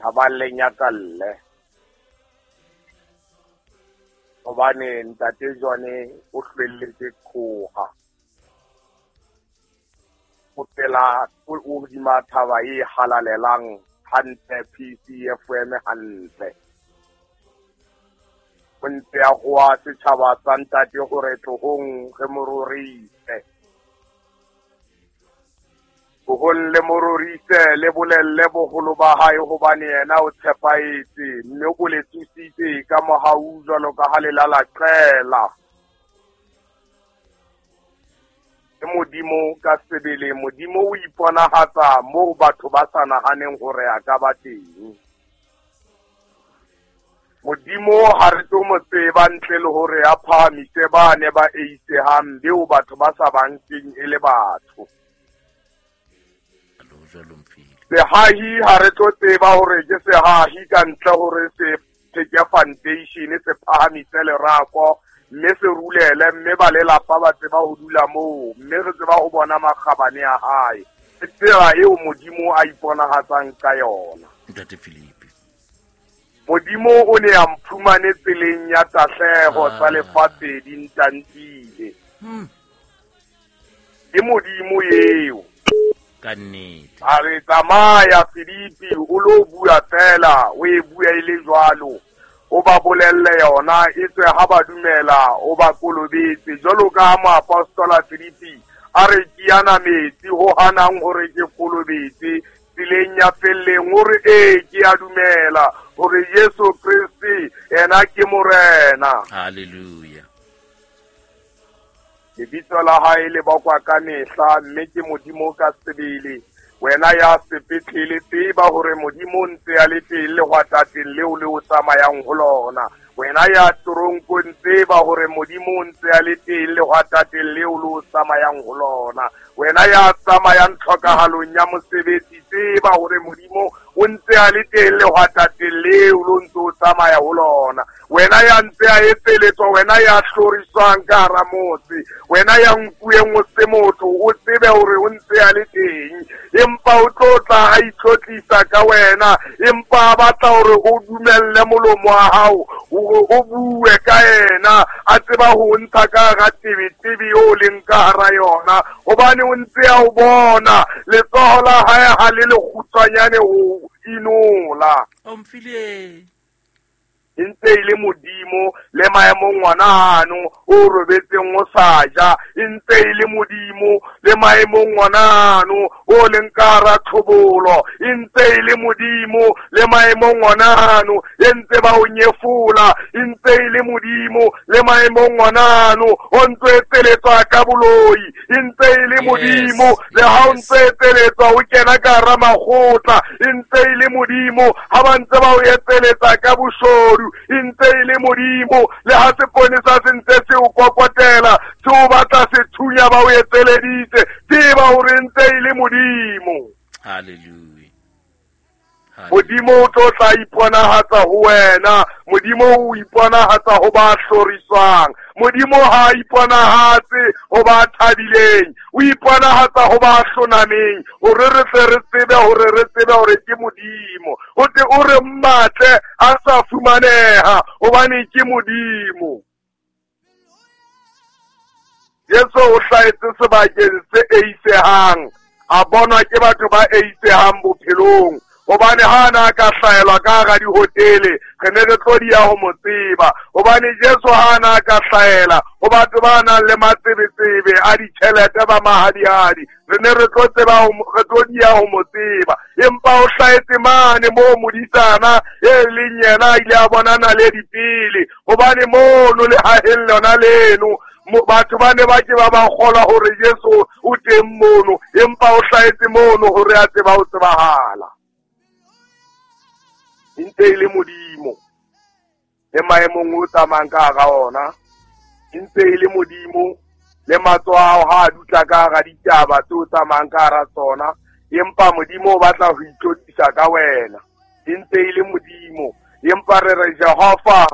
Thabang le nyakalle. Hobane ntate Jone o hlwelletse qhoha. O pela o hodima thaba e halalelang hantle PCFM hantle. O ntse a hoa setjhaba sa ntate hore tlohong re mo rorise. Tlohong le mo rorise, le bolelle boholo ba hae hobane yena o tshepahetse mme o le tsositse ka mohau jwalo ka ha le lala qela. Ke Modimo ka sebele, Modimo o iponahatsa moo batho ba sa nahaneng hore a ka ba teng. Modimo ha re tlo mo tseba ntle le hore a phahamise ba ne ba eisehang beo batho ba sa ba nkeng e le batho. Sehahi ha re tlo tseba hore ke sehahi ka ntle hore se theke foundation se phahamise lerako mme se rulele mme ba lelapa ba tseba ho dula moo mme re tseba ho bona makgabane a hae. Ke tsela eo Modimo a iponahatsang ka yona. Ntate Philippe. Modimo o ne a mphumane tseleng ya tahleho tsa lefatshe di ntantile. Ke Modimo eo. Ka nnete. A re tsamaya Filipi o lo bua fela, o e bua e le jwalo. O ba bolelle yona e tswe ha ba dumela o ba kolobetse. Jwalo ka ha moapostola Filipi a re ke yana metsi ho hanang hore ke kolobetse tseleng ya felleng, o re ee ke a dumela hore Jesu Kreste yena ke Morena. Hallelujah. Lebitso la hae le bakwa ka mehla mme ke Modimo ka sebele. Wena ya sepetlele tseba hore Modimo o ntse a le teng lehwatateng leo le o tsamayang ho lona. Wena ya toronkong tseba hore Modimo o ntse a le teng lehwatateng leo le o tsamayang ho lona. Wena ya tsamayang tlhokahalong ya mosebetsi tseba hore Modimo o ntse a le teng lehwatateng leo le o ntse o tsamaya ho lona. Wena ya ntse a etseletswa, wena ya hloriswang ka hara motse, wena ya nkueng o se motho, o tsebe hore o ntse a le teng. Empa o tlo tla a itlotlisa ka wena, empa a batla hore o dumelle molomo wa hao hore o bue ka yena, a tseba ho ntsha ka hara tebetebe eo o leng ka hara yona, hobane o ntse a o bona letsoho la hae ha le lekgutshwanyane ho inola. Omphile. E ntse e le Modimo le maemong ngwana ano o robetseng o sa ja, e ntse e le Modimo le maemong ngwana ano o leng ka hara tlhobolo, e ntse e le Modimo le maemong ngwana ano e ntse ba o nyefola, e ntse e le Modimo le maemong ngwana ano o ntse etseletswa ka boloi, e ntse e le Modimo le ha o ntse etseletswa o kena ka hara makgotla, e ntse e le Modimo ha ba ntse ba o etseletsa ka boshodu, e ntse e le Modimo le ha seponesa se ntse se o kokotela se o batla sethunya ba o etseleditse, tseba hore ntse e le Modimo. Hallelujah. Modimo o tlo tla iponahatsa ho wena, Modimo o iponahatsa ho ba hloriswang, Modimo ha iponahatse ho ba thabileng, o iponahatsa ho ba hlonameng, hore re tle re tsebe hore re tsebe hore ke Modimo. O tle o re mmatle a sa fumaneha hobane ke Modimo. Jesu o hlahetse sebakeng se eisehang, a bonwa ke batho ba eisehang bophelong, hobane ha na ka hlaelwa ka hara dihotele re ne re tlo dia ho mo tseba, hobane Jesu ha na ka hlaela ho batho ba nang le matsebetsebe a ditjhelete ba mahadihadi, re ne re tlo tseba re tlo dia ho mo tseba. Empa o hlahetse mane moo modisana e leng yena a ile a bona naledi pele, hobane mono lehaheng lona leno batho ba ne ba ke ba ba kgolwa hore Jesu o teng mono, empa o hlahetse mono hore a tseba ho tsebahala. E ntse e le Modimo le maemong o tsamayang ka hara ona, e ntse e le Modimo le matsoho a hao ha a dutla ka hara ditaba tse o tsamayang ka hara tsona, empa Modimo o batla ho itlotlisa ka wena. E ntse e le Modimo, empa re re Jehova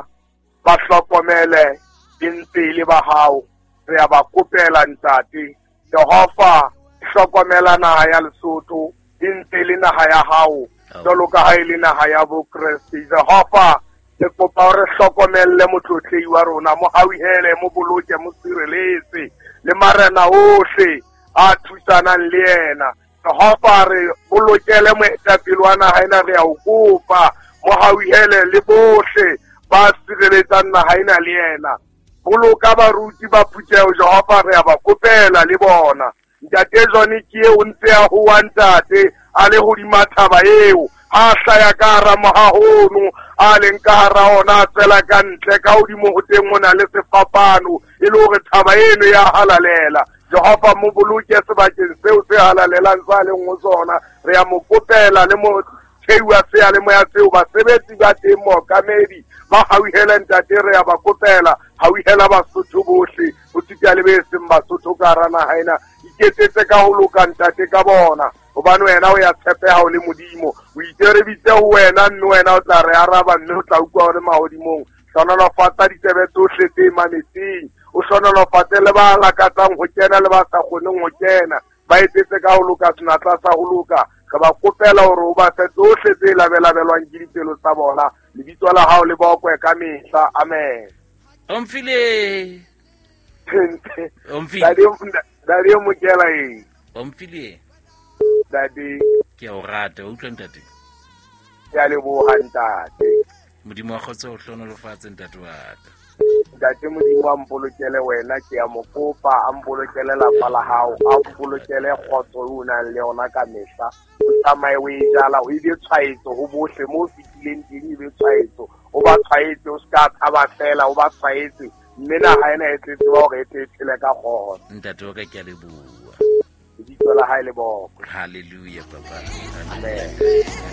ba hlokomele, e ntse e le ba hao, re a ba kopela ntate. Jehova hlokomela naha ya Lesotho, e ntse e le naha ya hao. Jwalo ka ha e le naha ya Bokreste. Jehova, re kopa hore hlokomelle motlotlehi wa rona, mo hauhele, mo boloke, mo sireletse le marena ohle a thusanang le yena. Jehova, re bolokele moetapele wa naha ena, re a o kopa, mo hauhele le bohle ba sireletsang naha ena le yena. Boloka baruti ba phutheho, Jehova, re a ba kopela le bona. Ntate John ke eo ntse a hoa ntate a le hodima thaba eo, ha hlaya ka hara mohahono a leng ka hara ona, a tswela ka ntle ka hodimo ho teng ho na le sefapano, e le hore thaba eno ya halalela. Jehova, mo boloke sebakeng seo se halalelang sa leng ho sona. Re a mo kopela le mo theiwa seyalemoya seo, basebetsi ba teng, mookamedi ba hauhele ntate, re a ba kopela, hauhela Basotho bohle, ho sita le be seng Basotho ka hara naha ena. Iketsetse ka ho loka ntate ka bona, hobane wena o ya tshepeha o le Modimo. O itse re bitse ho wena, mme wena o tla re araba, mme o tla utlwa o le mahodimong. Hlohonolofatsa ditsebe tsohle tse mametseng, o hlohonolofatse le ba lakatsang ho kena le ba sa kgoneng ho kena. Ba etsetse ka ho loka senatla sa ho loka. Re ba kopela hore o ba fe tsohle tse labelabelwang ke dipelo tsa bona. Lebitso la hao le bokwe ka mehla. Amen. Omphile. Omphile. Dadi Mokela eng? Omphile. Dadi. Ke a o rata, o utlwa ntate? Ke a leboha ntate. Modimo wa kgotso o hlohonolofatse ntate wa ka. Ntate Modimo a mpolokele wena, ke a mo kopa, a mpolokele lapa la hao, a mpolokele kgotso eo o nang le yona ka mehla. O tsamaye o e jala, o ebe tshwaetso ho bohle mo o fetileng teng, ebe tshwaetso. O ba tshwaetse, o ska tshaba fela, o ba tshwaetse. Mme naha ena e tle tseba hore e tle e phele ka kgotso. Ntate wa ka, ke a leboha. Lebitso la hae le bokwe. Hallelujah, papa. Amen.